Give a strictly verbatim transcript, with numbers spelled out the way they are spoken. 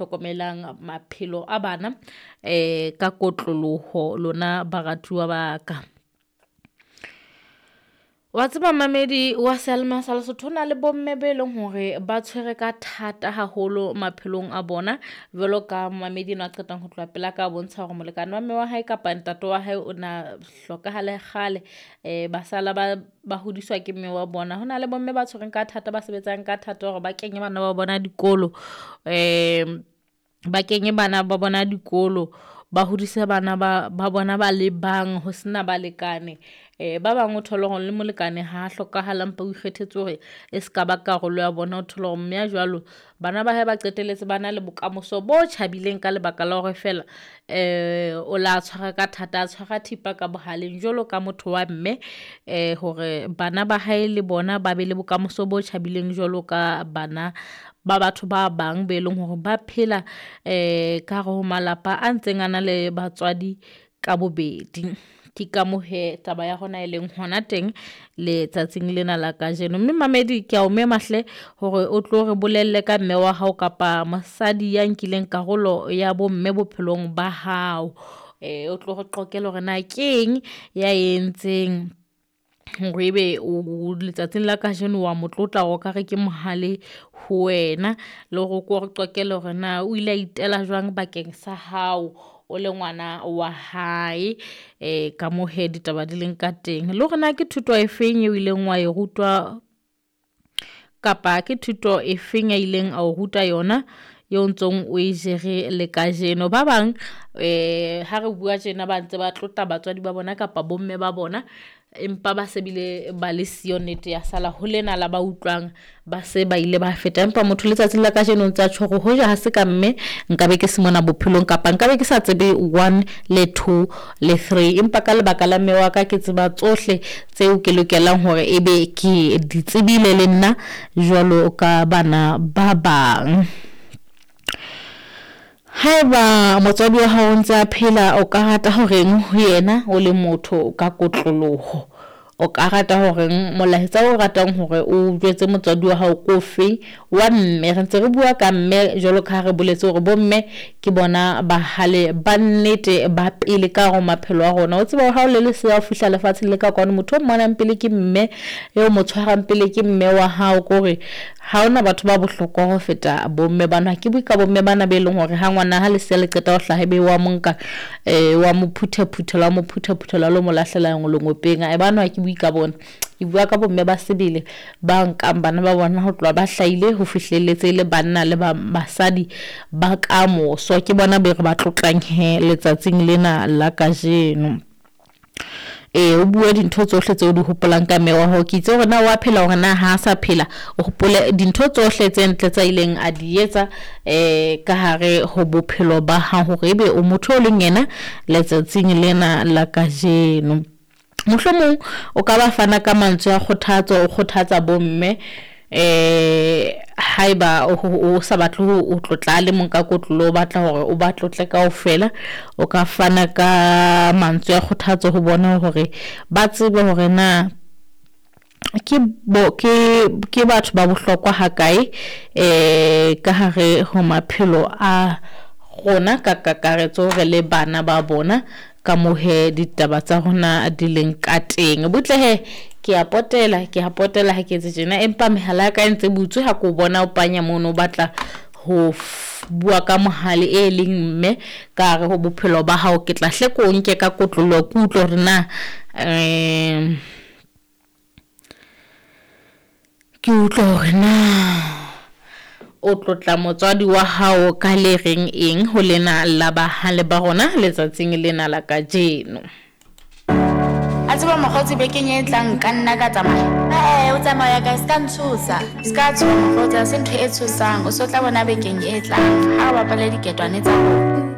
Hlokomelang maphelo a bana um ka kotloloho lona baratuwa ba ka. Wa tseba mmamedi wa seyalemoya sa Lesotho, ho na le bomme be leng hore ba tshwere ka thata haholo maphelong a bona. Jwalo ka momamedi enwa a qetang ho tloha pela ka bontsha hore molekane wa mme wa hae kapa ntate wa hae o na hlokahale kgale, ba sala ba ba hodiswa ke mme wa bona. Hona le bomme ba tshwereng ka thata, ba sebetsang ka thata hore ba kenye bana ba bona dikolo, ba kenye bana ba bona dikolo, ba hodise bana ba ba bona ba le bang ho sena balekane. Ba bang o thole hore le molekane ha hlokahala, empa o ikgethetse hore e ska ba karolo ya bona. O thole hore mme a jwalo bana ba hae ba qetelletse ba na le bokamoso bo tjhabileng ka lebaka la hore feela o la tshwara ka thata, a tshwara thipa ka bohaleng jwalo ka motho wa mme, hore bana ba hae le bona ba be le bokamoso bo tjhabileng jwalo ka bana ba batho ba bang be leng hore ba phela ka hare ho malapa a ntseng a na le batswadi ka bobedi. Ke ka moo hee taba ya rona e leng hona teng letsatsing lena la kajeno, mme mamedi ke ya o mema hle hore o tlo re bolelle ka mme wa hao kapa mosadi ya nkileng karolo ya bomme bophelong ba hao. O tlo re qoqele hore na keng ya entseng hore ebe o letsatsing la kajeno wa mo tlotla o ka re ke mohale ho wena, le hore o ko re qoqele hore na o ile a itela jwang bakeng sa hao o le ngwana wa hae. Ka moo hee ditaba di leng ka teng, le hore na ke thuto e feng eo ileng wa e rutwa kapa ke thuto e feng a ileng ao ruta yona eo ntsong o e jere le kajeno. Ba bang ha re bua tjena ba ntse ba tlotla batswadi ba bona kapa bomme ba bona, empa ba se bile ba le siyo, nnete ya sala ho lena la ba utlwang, ba se ba ile ba feta. Empa motho letsatsing la kajeno o ntsa tjho hore hoja ha se ka mme nkabe ke se mona bophelong kapa nkabe ke sa tsebe one le two le three, empa ka lebaka la mme wa ka ke tseba tsohle tseo ke lokelang hore ebe ke di tsebile le nna jwalo ka bana ba bang. Haeba motswadi wa hao o ntse a phela, o ka rata horeng ho yena o le motho ka kotloloho, o ka rata horeng molaetsa o ratang hore o jwetse motswadi wa hao ko fe wa mme? Re ntse re bua ka mme jwalo ka ha re boletse hore bomme ke bona bahale ba nnete ba pele ka hare ho maphelo a rona. O tseba ha o le lesea o fihla lefatsheng le ka kwano, motho o mmonang pele ke mme, eo mo tshwarang pele ke mme wa hao. Ko hore ha hona batho ba bohlokwa ho feta bomme bana. Ha ke bue ka bomme bana be leng hore ha ngwana ha lesea le qeta ho hlaha ebe wa mo nka, wa mo phuthaphuthela, wa mo phuthaphuthela lo mo lahlela lengopeng. Ae bano ha ke bue ka bona, ke bua ka bomme ba sebele ba nkang bana ba bona ho tloha ba hlahile ho fihlelletse le banna le ba basadi ba kamoso. Ke bona be re ba tlotlang he letsatsing lena la kajeno. Ee, o bue dintho tsohle tseo di hopolang ka mme wa hao. Ke itse hore na wa phela hore na ha sa phela, o hopole dintho tsohle tse ntle tsa ileng a di etsa ka hare ho bophelo ba hao hore ebe o motho o leng yena letsatsing lena la kajeno. Mohlomong o ka ba fana ka mantswe a kgothatso, o kgothatsa bomme haeba o sa batle ho tlotla le mong ka kotloloho, o batla hore o ba tlotle kaofela, o ka fana ka mantswe a kgothatso ho bona hore ba tsebe hore na ke bo ke ke batho ba bohlokwa hakae ka hare ho maphelo a rona ka kakaretso re le bana ba bona. Ka moo hee ditaba tsa rona di leng ka teng. Butle hee ke a potela, ke a potela ha ke etse tjena, empa mehala ya ka e ntse butswe ha ko bona o panya mono o batla ho bua ka mohale e leng mme ka hare ho bophelo ba hao. Ke tla hle ko nke ka kotloloho, ke utlwe hore na ke utlwe hore na o tlotla motswadi wa hao ka le reng eng ho lena la bahale ba rona letsatsing lena la kajeno. A tseba mokgotsi bekeng e tlang nka nna ka tsamaya. Ee, o tsamaya kae? Se ka ntshosa. Se ka tshoha mokgotsi, ha se ntho e tshosang. O so tla bona bekeng e tlang ha re bapale diketwane tsa rona.